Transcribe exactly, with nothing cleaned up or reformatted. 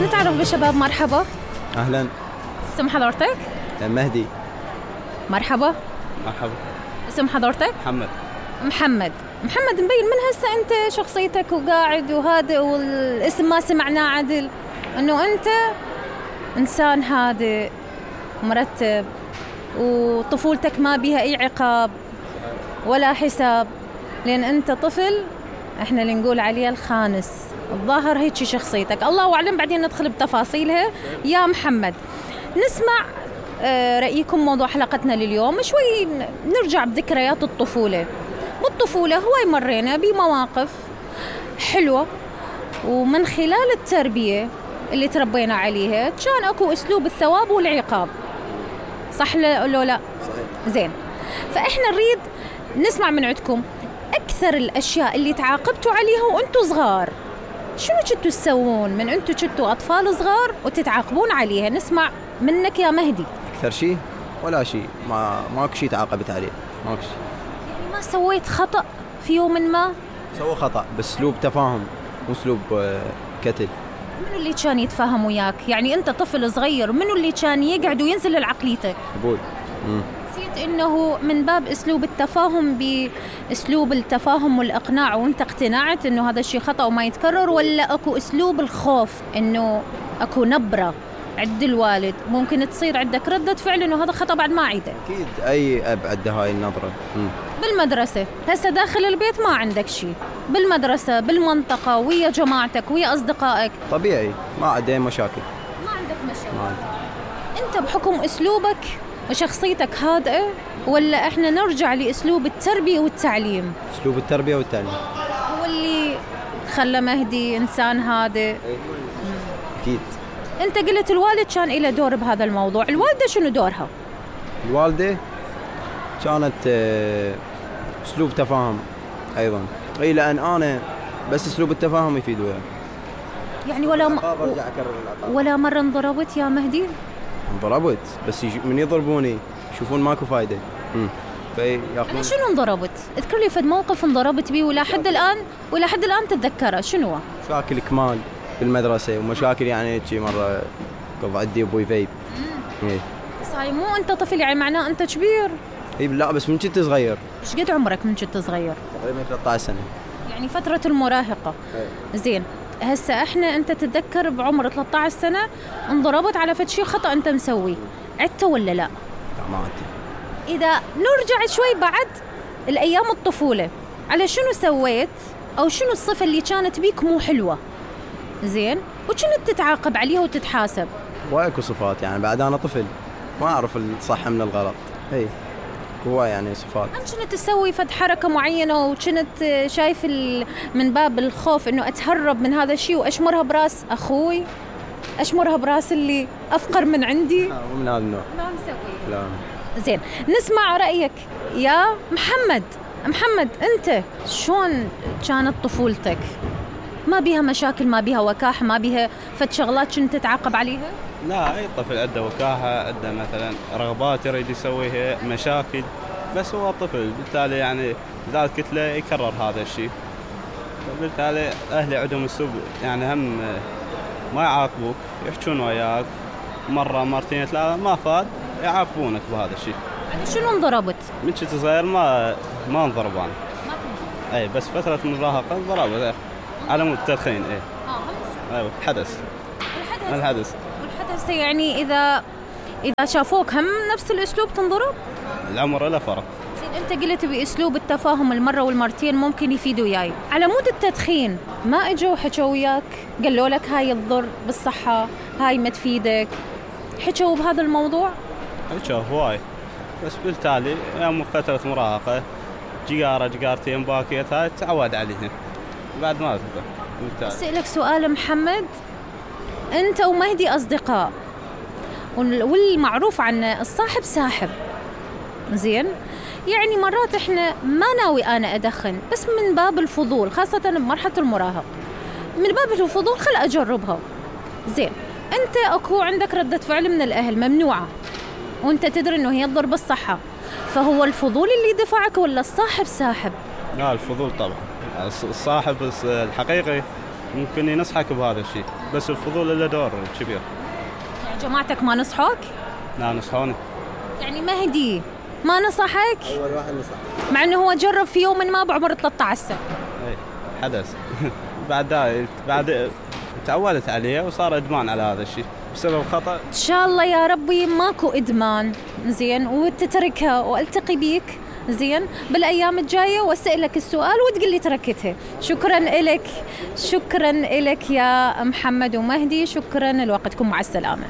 نتعرف بالشباب. مرحبا. أهلا. اسم حضرتك؟ مهدي. مرحبا. مرحبا. اسم حضرتك؟ محمد. محمد. محمد، مبين من هسه أنت شخصيتك وقاعد وهادئ، والاسم ما سمعناه عدل، أنه أنت إنسان هادئ مرتب، وطفولتك ما بيها أي عقاب ولا حساب، لأن أنت طفل إحنا اللي نقول عليه الخانس. الظاهر هيك شخصيتك، الله أعلم، بعدين ندخل بتفاصيلها. يا محمد، نسمع رأيكم موضوع حلقتنا لليوم. شوي نرجع بذكريات الطفولة. بالطفولة هواي مرينا بمواقف حلوة، ومن خلال التربية اللي تربينا عليها كان أكو أسلوب الثواب والعقاب، صح لو لا؟ صحيح. زين، فإحنا نريد نسمع من عندكم أكثر الأشياء اللي تعاقبتوا عليها وأنتوا صغار. شنو كنتوا تسوون من أنتوا كنتوا أطفال صغار وتتعاقبون عليها؟ نسمع منك يا مهدي. أكثر شيء ولا شيء، ما ماكو شيء تعاقبت عليه، ماكو شيء. يعني ما سويت خطأ في يوم ما؟ سوى خطأ بأسلوب تفاهم، مو أسلوب كتل. منو اللي كان يتفاهم وياك؟ يعني أنت طفل صغير، منو اللي كان يقعد وينزل لعقليتك؟ أبوي. نسيت إنه من باب أسلوب التفاهم، بأسلوب التفاهم والإقناع، وأنت اقتنعت إنه هذا الشيء خطأ وما يتكرر، ولا أكو أسلوب الخوف، إنه أكو نبرة عند الوالد ممكن تصير عندك ردة فعل إنه هذا خطأ بعد ما عيده؟ أكيد أي أب عنده هاي النظرة. مم. بالمدرسة هسه داخل البيت ما عندك شيء، بالمدرسة بالمنطقة ويا جماعتك ويا أصدقائك طبيعي ما عندي مشاكل. ما عندك مشاكل. ما عندي. أنت بحكم أسلوبك وشخصيتك هادئة، ولا إحنا نرجع لأسلوب التربية والتعليم؟ أسلوب التربية والتعليم هو اللي خلى مهدي إنسان هادئ. أكيد. أنت قلت الوالد كان له دور بهذا الموضوع، الوالدة شنو دورها؟ الوالدة كانت أسلوب تفاهم أيضا، أي لأن أنا بس أسلوب التفاهم يفيد وياه. يعني ولا م... ولا مرة انضربت يا مهدي؟ انضربت، بس يج... من يضربوني يشوفون ماكو فايدة. امم يعني شنو انضربت؟ اذكر لي فد موقف انضربت بيه ولا حد الآن ولا حد الآن تتذكره، شنو؟ مشاكل كمال بالمدرسة، ومشاكل يعني هيك مرة قضى عندي أبوي فيب. إيه. بس هاي مو أنت طفل، يعني معناه أنت كبير. إيه لا، بس من كنت صغير. إيش قد عمرك من كنت صغير؟ تقريبا ثلاثة عشر سنة. يعني فترة المراهقة. إيه. زين، هسه احنا انت تتذكر بعمر ثلاثة عشر سنة انضربت على فد شيء خطأ انت مسوي، عدته ولا لا؟ لا ما عدته. اذا نرجع شوي بعد الايام الطفولة، على شنو سويت او شنو الصفة اللي كانت بيك مو حلوة؟ زين، وكنت تتعاقب عليها وتتحاسب؟ واكو صفات، يعني بعد انا طفل ما اعرف الصح من الغلط. هي هو يعني صفات. أنا كنت تسوي فد حركة معينة وكنت شايف من باب الخوف إنه أتهرب من هذا الشيء وأشمرها براس أخوي، أشمرها براس اللي أفقر من عندي؟ مو من هذا النوع. ما مسوي. لا. زين، نسمع رأيك يا محمد. محمد، أنت شلون كانت طفولتك؟ ما بيها مشاكل، ما بيها وكاحة، ما بيها فد شغلات كنت تتعاقب عليها؟ لا، أي طفل عنده وكاحة، عنده مثلا رغبات يريد يسويها، مشاكل، بس هو طفل، بالتالي يعني إذا قلت له يكرر هذا الشيء، بالتالي أهلي عندهم أسلوب يعني هم ما يعاقبوك، يحجون وياك مرة مرتين ثلاثة، ما فاد يعاقبونك بهذا الشيء. يعني شنو انضربت؟ من كنت صغير ما ما انضرب أنا. ما كنت. أي بس فترة المراهقة انضربت على مود التدخين. إيه. آه أيوة حدث. الحدث. الحدث. والحدث يعني إذا إذا شافوك هم نفس الأسلوب تنضرب؟ العمر لا فرق. زين، أنت قلت بأسلوب التفاهم المرة والمرتين ممكن يفيدوا وياي. على مود التدخين ما إجوا حكوا وياك قالوا لك هاي تضر بالصحة، هاي ما تفيدك، حكوا بهذا الموضوع؟ حكوا هواي، بس بالتالي يوم فترة مراهقة جيجارة جيجارتين باكيت هاي تعود عليهن بعد ما تبدأ. أسألك سؤال محمد، أنت ومهدي أصدقاء، والمعروف عن الصاحب ساحب، زين؟ يعني مرات إحنا ما ناوي أنا أدخن، بس من باب الفضول، خاصة بمرحلة المراهق، من باب الفضول خل أجربها. زين، أنت أكو عندك ردة فعل من الأهل ممنوعة، وأنت تدري إنه هي تضر بالصحة، فهو الفضول اللي دفعك ولا الصاحب ساحب؟ لا، الفضول طبعا. الصاحب الحقيقي ممكن ينصحك بهذا الشيء، بس الفضول له دور كبير. يعني جماعتك ما نصحوك؟ لا نصحوني. يعني مهدي ما نصحك؟ اول واحد نصح، مع انه هو جرب في يوم ما بعمر ثلاثة عشر سنة. اي حدث. بعد ذا بعد تعودت عليه وصار ادمان على هذا الشيء بسبب خطأ. ان شاء الله يا ربي ماكو ادمان، زين، وتتركها والتقي بيك زين بالايام الجايه واسالك السؤال وتقول لي تركتها. شكرا لك، شكرا لك يا محمد ومهدي، شكرا لوقتكم، مع السلامه.